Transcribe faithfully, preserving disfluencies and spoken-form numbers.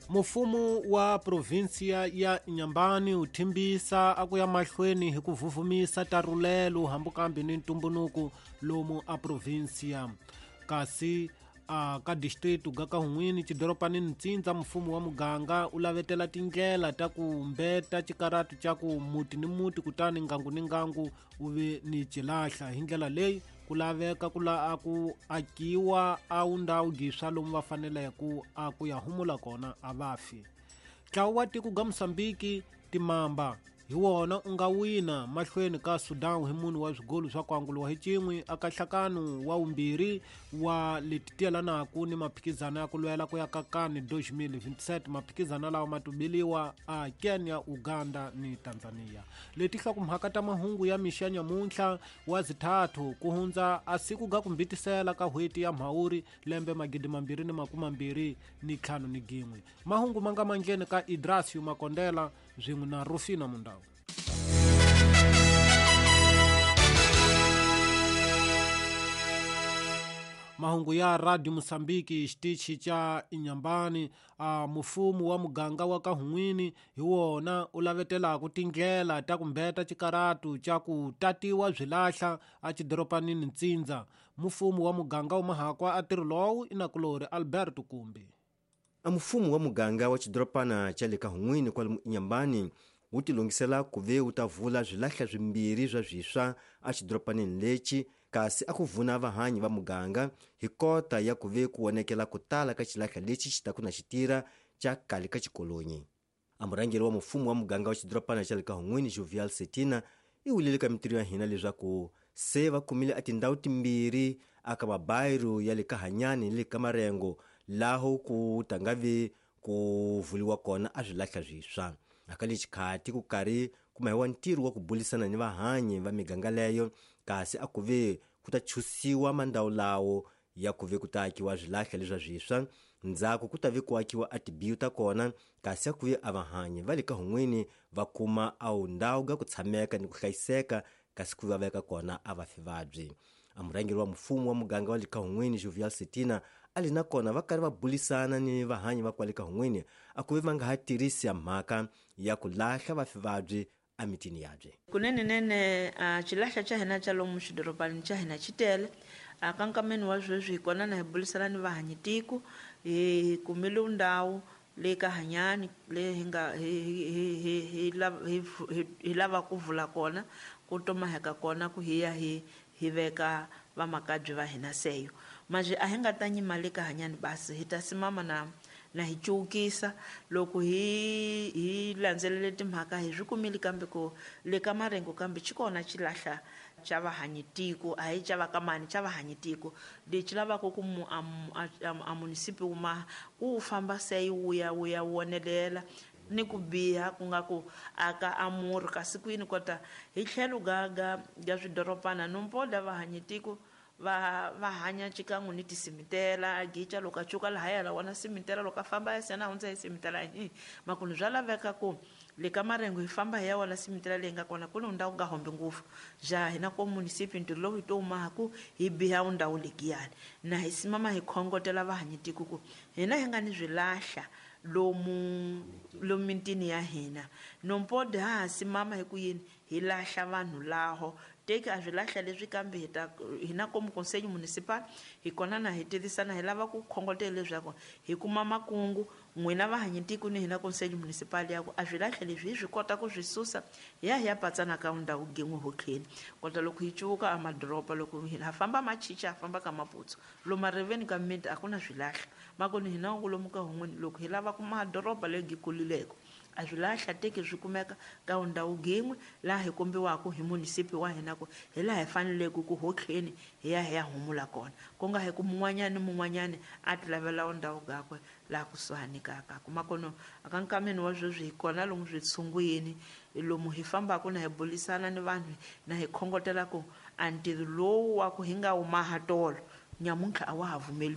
Mufumo wa provinsiya ya Inhambane wu thimbisa a ku ya mahlweni hi ku vuvumisa tarulelo hambukambi ni ntumbunuku lomu a provinsiya kasi a ka distrito ga ka hun'wini xidoropanini Ntsindza mfumo wa muganga u lavetela tindlela ta ku mbeta xikaratu xa ku muti ni muti kutani ngangu ni ngangu wu ve ni xilahla hi ndlela leyi ku laveka ku la ku akiwa a wu ndhawu giswa lomu va faneleke ku a ku ya humula kona a va fi. Ntlawa wa tiko ga Mozambique timamba hi wona u nga wina mahlweni ka Sudan hi munhu wa swigolo swa ku anguliwa hi cin'we aka nhlakano wa vumbirhi wa leti tiyelanaku ni maphikizano ya ku lwela ku ya ka kani twenty twenty-seven maphikizano lawa ma tubeliwa a Kenya, Uganda ni Tanzania. Leti nhlokomhaka ta mahungu ya mixa nyamuntlha wa zithathu ku hundza a siku ga kumbitisela ka hweti ya Mhawuri lembe magidi mambirhi ni makumi mambirhi ni ntlhanu ni gin'we. Mahungu ma nga mandleni ka Idrasio Makondela swin'we na Rufina Mundau. Mahungu ya Radio Mozambique xitichi xa Inhambane a mufumo wa muganga wa ka hun'wini hi wona u lavetelaku tindlela ta ku mbeta xikaratu xa ku tatiwa swilahla a xidoropanini Ntsindza. Mufumo wa muganga wa Mahakwa a ntirho lowu i nakulori Alberto Kumbi. A mufumo wa muganga wa xidoropana xa le ka hun'wini kwalomu Inhambane wu tilungisela ku ve wu ta vula swilahla swimbirhi swa swiswa a xidoropanini lexi kasi a ku vuna vahanyi va muganga hi kota ya ku ve ku vonekela ku tala ka xilahla lexi xi taku na xitira xa kale ka xikolonyi. A murhangeri wa mufumo wa muganga wa xidoropana xa le ka hun'wini Jovial Setina i wulile ka mintirho ya hina leswaku se va kumile a tindhawu timbirhi aka mabayiro ya le ka Hanyani ni le ka Marengo laho ku ta nga vi ku vuliwa kona a swilahla swiswa. Aka le xikhati ku karhi ku mahiwa ntirho wa ku bulisana ni vahanyi va miganga leyo kasi a ku ve ku ta chusiwa mandhawu lawo ya ku ve ku ta akiwa swilahla leswa swiswa ndzhaku ku ta ve ku akiwa a tibiyu ta kona kasi a ku ve a vahanyi va le ka hun'wini va kuma a wu ndhawu ga ku tshameka ni ku hlayiseka kasi ku va veka kona a va fi vabyi. A murhangeri wa mfumo wa muganga wa le ka hun'wini Jovial Setina a li na kona va karhi va bulisana ni vahanyi va kwale ka hun'wini a ku ve va nga ha tirhisi ya mhaka ya ku lahla vafi vabyi emitini yabye. Kunene nene a xilahla xa hina xa lomu xidoropanini xa hina xi tele a ka nkameni wa sweswi hi kona na hi bulisana ni vahanyi tiko hi kumile ndhawu le ka Hanyani le hi nga hi hi hi hi hi hi lava ku vula kona ku tomaheka kona ku hi ya hi hi veka vamakabye va hina seyo manje a hi nga ta nyima le ka Hanyani basi hi ta simama na na hi cukisa loko hi hi landzelele timhaka hi swi kumile kambe ku le ka Marengo kambe xi kona xilahla xa vahanyi tiko a hi xa va ka mani xa vahanyi tiko lexi lavaka ku mu a munisipi wu ma ku wu famba se wu ya wu ya wonelela ni ku biha ku nga ku aka amuri kasi kwini kota hi tlhelo ga ga ga swidoropana nompoda vahanyi tiko va va hanya xikan'we ni tisimitela gicha loko a cuka lahaya la wona simitela loko a famba ya sena hundza hi simitela hi makunu swa laveka ku le ka Marengo hi famba hi ya wona simitela leyi nga kona ku ni ndhawu nga hombi ngopfu ja hina ko munisipi ntirho lowu hi to maha ku hi biha ndhawu legiyani na hi simama hi khongotela vahanyi tiko ku hina hi nga ni swilahla lomu lomu mitini ya hina nompode ha ha simama hi ku yini hi lahla vanhu laho teki a swilahla leswi kambe hi ta hina komu conseil municipal hi kona na hi tivisana hi lava ku khongotela leswaku hi kuma makungu n'wina vahanyi tiko ni hina conseil municipal ya ku a swilahla leswi hi swi kota ku swi susa hi ya hi ya patsana ka ndhawu gin'we hotlheni kota loko hi cuka a madoroba loko ha famba machicha ha famba ka Maputsu lomu mariveni ka miti a ku na swilahla makoni hina lomu ka hun'wini loko hi lava ku madoroba legi kulileko a swilahla teki swi kumeka ka ndhawu gin'we laha hi kombiwaka hi munisipi wa hina ku hi laha hi faneleke ku hotlheni hi ya hi ya humula kona ku nga hi ku mun'wanyani ni mun'wanyani a ti lavela ndhawu gakwe laha kusuhani ka ka kuma kono aka nkameni wa sweswi hi kona lomu switshungwini lomu hi fambaka na hi bulisana ni vanhu na hi khongotela ku a ntirho lowu wa ku hi nga wu maha tolo nyamuntlha a wa ha vumeli.